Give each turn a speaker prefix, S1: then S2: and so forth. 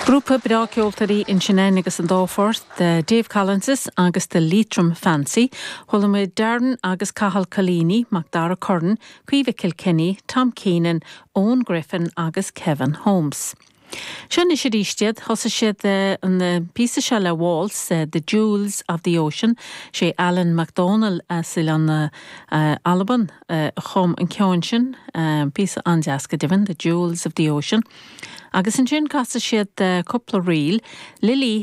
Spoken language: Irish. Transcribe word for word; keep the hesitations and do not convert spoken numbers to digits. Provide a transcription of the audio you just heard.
S1: Grúpa breá ceoltóirí ansin agus an dá phort Dave Collins agus the Leitrim Fancy, Chuala muid Darren agus Cathal Collini, Macdara Curran, Caoimhe Kilkenny, Tom Keenan, Owen Griffin agus Kevin Holmes. Sin is iad thosaigh siad an píosa seo le Waltz, uh, The Jewels of the Ocean, sé Alan MacDonald as an uh, Albain uh, chum an ceann sin, píosa an-deas go deimhin, The Jewels of the Ocean. Agus ansin casadh siad cúpla ríl, Lily